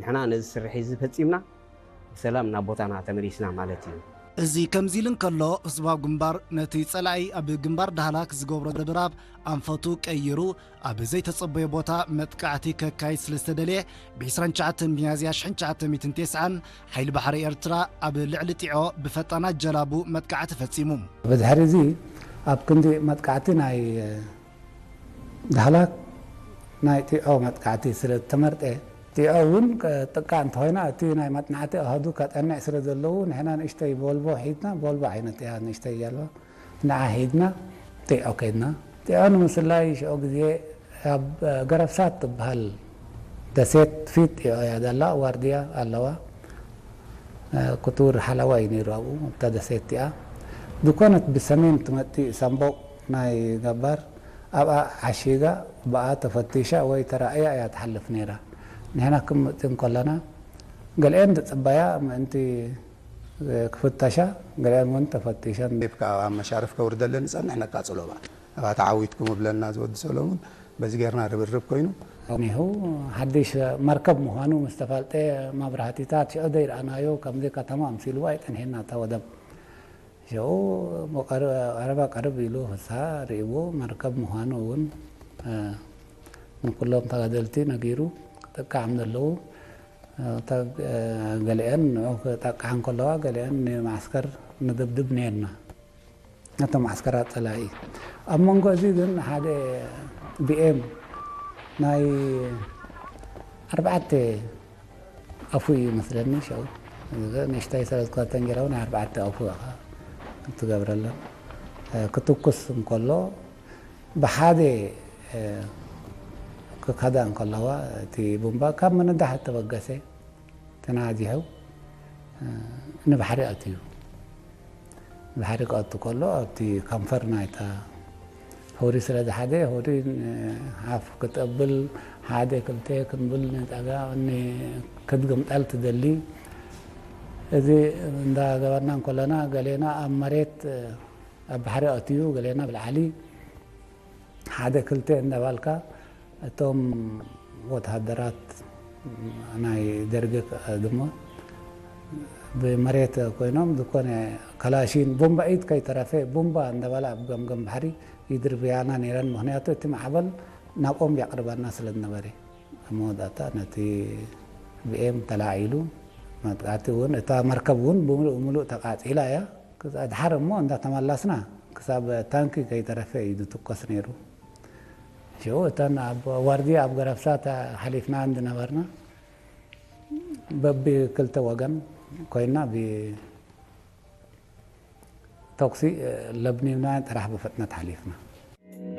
ንሕና ነዚ ስርሒ እዚ ፈጺምና ብሰላም ናብ ቦታና ተመሊስና ማለት እዩ። እዚ ከምዚ ኢሉ እንከሎ፣ ህዝባዊ ግንባር ነቲ ጸላኢ ኣብ ግንባር ዳህላክ ዝገብሮ ድብድብ ኣንፈቱ ቀይሩ፣ ኣብ ዘይተጸበዮ ቦታ መጥቃዕቲ ከካይድ ስለ ዝተደልየ፣ ብ29 ሚያዝያ 1990 ሓይሊ ባሕሪ ኤርትራ ኣብ ልዕሊ ጢዖ ብፈጣን ኣጀላቡ መጥቃዕቲ ፈጺሙ። ብድሕሪ እዚ ኣብ ክንዲ መጥቃዕቲ ናይ ዳህላክ ናይ ጢዖ መጥቃዕቲ ስለ ዝተመርጠ፣ ጢዖ እውን ጥቃ እንተኾይና እቲ ናይ መጥናዕቲ ኣሃዱ ከጠንዕ ስለ ዘለዉ ንሕና ንእሽተይ ቦልቦ ሒዝና፣ ቦልቦ ዓይነት እያ ንእሽተይ ጃልባ፣ ንዓ ሒዝና ጢዖ ከይድና። ጢዖ ንምስላይ ሽዑ ግዜ ኣብ ገረብሳት ትበሃል ደሴት ፊት ጢዖ እያ ዘላ፣ ዋርድያ ኣለዋ። ክቱር ሓለዋ እዩ ነይሩ ኣብኡ ኣብታ ደሴት እቲኣ። ድኮነት ብሰሜን ትመጽእ ሳምቦቕ ናይ ገባር ኣብኣ ዓሺጋ ብኣ ተፈቲሻ ወይ ተራእያ እያ ትሓልፍ ነይራ። ንሕና ክንመጽእ እንከለና ገሊአን ዝጽበያ ምእንቲ ክፍተሻ፣ ገሊአን እውን ተፈቲሸን። ቴፕ ከዓ ኣብ መሻርፍ ከውርደለን ዝጸንሕ ነቃጽሎ በዓል። ኣብኣ ተዓዊትኩም እብለና ዝወዲ ሰሎሙን። በዚ ጌርና ርብርብ ኮይኑ። እኒሁ ሓድሽ መርከብ ምዃኑ ምስ ተፋልጠ፣ መብራህቲታት ሽዑ ዘይረኣናዮ ከምዚ ከተማ ኣምሲልዎ ኣይጸንሐና እታ ወደብ። ሽዑ ቀረባ ቀርብ ኢሉ ፍስሃ ርእይዎ መርከብ ምዃኑ እውን ንኩሎም ተጋደልቲ ነጊሩ። ክጥቃዕም ዘለዉ ገሊአን ንዑ ክጠቅዓ እንከለዋ ገሊአን ንማዕስከር ንድብድብ ነርና። ነቶም ዓስከራት ጸላኢ። ኣብ መንጎ እዚ ግን ሓደ ቢኤም ናይ ኣርባዕተ ኣፉ እዩ መስለኒ። ሸው ንእሽተይ ሰለስኳተን ጌራ ናይ ኣርባዕተ ኣፉ ኢኻ ትገብረለን። ክትኩስ እንከሎ ብሓደ ክከዳ እንከለዋ እቲ ቡምባ ካብ ምንዳሕ እተበገሰ ተናዚሑ ንባሕሪ ኣትዩ። ባሕሪ ክኣቱ ከሎ ኣብቲ ከንፈር ናይታ ሆሪ ስለ ዝሓደ ሆሪ ሓፍ ክትብል ሓደ ክልተ ክንብል ንጠጋ ክትግምጠል ትደሊ። እዚ እንዳገበርና እንከለና ገሌና ኣብ መሬት ኣብ ባሕሪ ኣትዩ ገሌና ብልዓሊ ሓደ ክልተ እንዳባልካ እቶም ወተሃደራት ናይ ደርጊ ድማ ብመሬት ኮይኖም ዝኾነ ካላሺን ቡምባ ኢድ ከይተረፈ ቡምባ እንዳበላ ኣብ ገምገም ባሕሪ ይድርብያና ነይረን። ምኽንያቱ እቲ ማዕበል ናብኦም የቕርበና ስለ ዝነበረ። ኣብ መወዳእታ ነቲ ቢኤም ተላዒሉ መጥቃዕቲ እውን እታ መርከብ እውን ብምሉእ ብምሉእ ተቃጺላ እያ። ክሳብ ድሓር እሞ እንዳተመለስና ክሳብ ታንኪ ከይተረፈ እዩ ዝትኮስ ነይሩ። ሽዑ እተን ኣብ ዋርድያ ኣብ ገረብሳ ሓሊፍና እንድነበርና በቢ ክልተ ወገን ኮይና ብተኩሲ ለብኒብና ጥራሕ ብፍጥነት ሓሊፍና።